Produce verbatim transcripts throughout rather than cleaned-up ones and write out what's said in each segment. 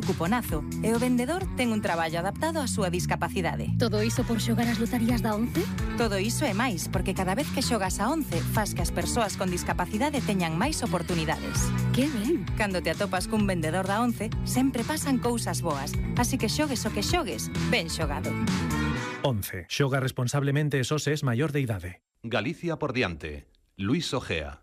cuponazo e o vendedor ten un traballo adaptado á súa discapacidade. Todo iso por xogar as lotarías da once? Todo iso e máis, porque cada vez que xogas a once fas que as persoas con discapacidade teñan máis oportunidades. Que ben! Cando te atopas cun vendedor da once, sempre pasan cousas boas. Así que xogues o que xogues, ben xogado. once. Xoga responsablemente e só se es maior de idade. Galicia por diante. Luis Ojea.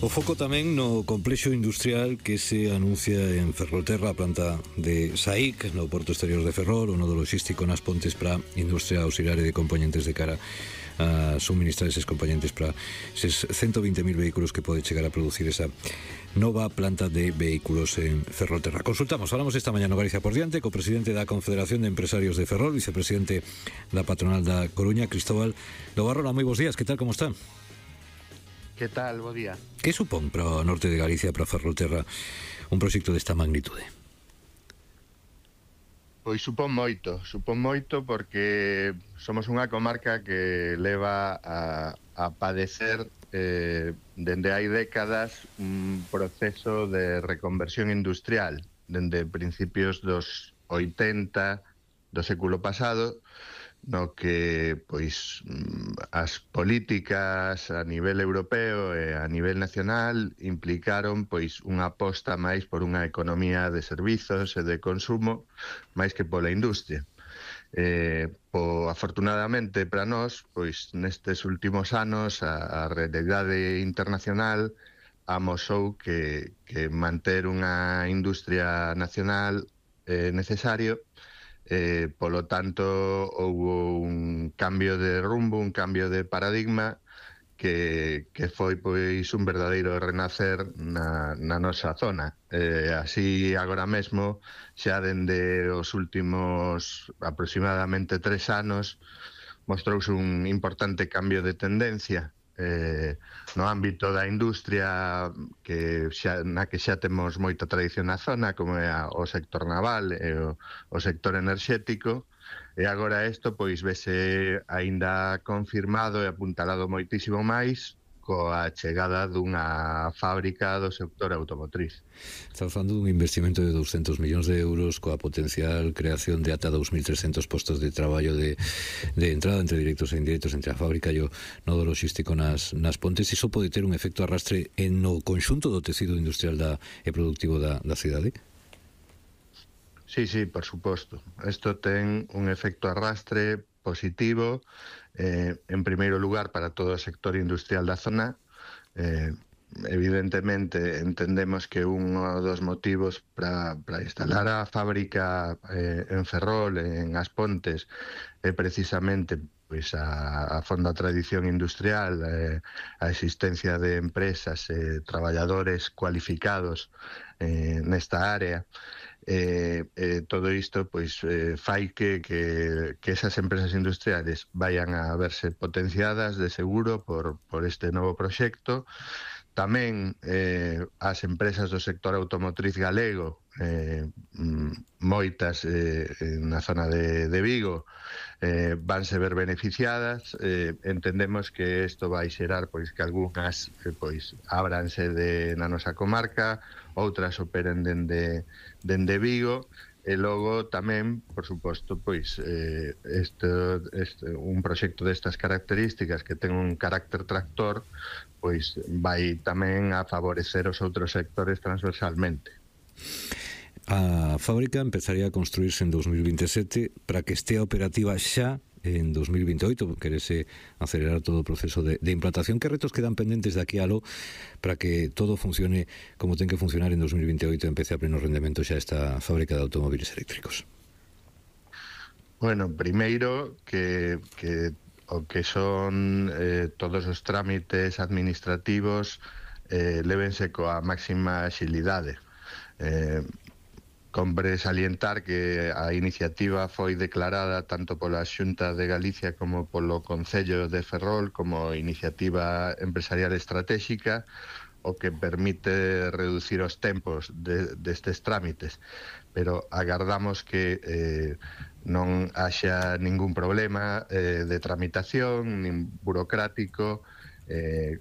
O foco tamén no complexo industrial que se anuncia en Ferrolterra, a planta de S A I C, no Porto Exterior de Ferrol, o nodo logístico nas Pontes para industria auxiliar e de componentes de cara a suministrar eses componentes para eses ciento vinte mil vehículos que pode chegar a producir esa nova planta de vehículos en Ferrolterra. Consultamos, falamos esta mañá no Galicia por diante co presidente da Confederación de Empresarios de Ferrol, vicepresidente da patronal da Coruña, Cristóbal Lobarrola. Moi bons días, que tal, como está? Que tal, bo día. Que supón para o norte de Galicia, para Ferrolterra, un proxecto desta magnitude? Pois supón moito, supón moito porque somos unha comarca que leva a, a padecer eh, dende hai décadas un proceso de reconversión industrial, dende principios dos oitenta do século pasado, no que pois as políticas a nivel europeo e a nivel nacional implicaron pois unha aposta máis por unha economía de servizos e de consumo máis que pola industria. Eh, po, afortunadamente para nós, pois nestes últimos anos a, a realidade internacional amosou que, que manter unha industria nacional é necesario. Eh, polo tanto, houve un cambio de rumbo, un cambio de paradigma que, que foi pois un verdadeiro renacer na, na nosa zona. Eh, así, agora mesmo, xa dende os últimos aproximadamente tres anos, mostrouse un importante cambio de tendencia eh, no ámbito da industria que xa, na que xa temos moita tradición na zona, como é a, o sector naval e o, o sector enerxético, e agora isto pois vese aínda confirmado e apuntalado moitísimo máis coa chegada dunha fábrica do sector automotriz. Estamos falando dun investimento de douscentos millóns de euros coa potencial creación de ata dos mil trescentos postos de traballo de, de entrada entre directos e indirectos entre a fábrica e o nodo logístico nas, nas Pontes. Iso pode ter un efecto arrastre en no conxunto do tecido industrial da, e productivo da, da cidade? Sí, sí, por suposto. Isto ten un efecto arrastre positivo, eh, en primeiro lugar para todo o sector industrial da zona. Eh, evidentemente entendemos que un dos motivos para instalar a fábrica eh, en Ferrol, en As Pontes, é precisamente pois a, a fonda tradición industrial, eh, a existencia de empresas e eh, traballadores cualificados eh, nesta área. Eh, eh, todo isto pois eh, fai que, que, que esas empresas industriales vayan a verse potenciadas de seguro por, por este novo proxecto. Tamén eh, as empresas do sector automotriz galego, eh, moitas eh, na zona de, de Vigo, eh, vanse ver beneficiadas. Eh, entendemos que isto vai xerar pois que algunhas eh, pois ábranse de, na nosa comarca, outras operen dende, dende Vigo, e logo tamén, por suposto, pois eh, este, este, un proxecto destas características que ten un carácter tractor, pois vai tamén a favorecer os outros sectores transversalmente. A fábrica empezaría a construirse en dos mil veintesete para que estea operativa xa en dos mil veinteoito, querese acelerar todo o proceso de, de implantación. Que retos quedan pendentes de aquí a lo para que todo funcione como ten que funcionar en dos mil veinteoito e empece a pleno rendemento xa esta fábrica de automóviles eléctricos? Bueno, primeiro que, que o que son eh, todos os trámites administrativos eh, lévense coa máxima axilidade. Eh, Compre salientar que a iniciativa foi declarada tanto pola Xunta de Galicia como polo Concello de Ferrol como iniciativa empresarial estratégica, o que permite reducir os tempos de, destes trámites, pero agardamos que eh, non haxa ningún problema eh, de tramitación, nin burocrático, eh,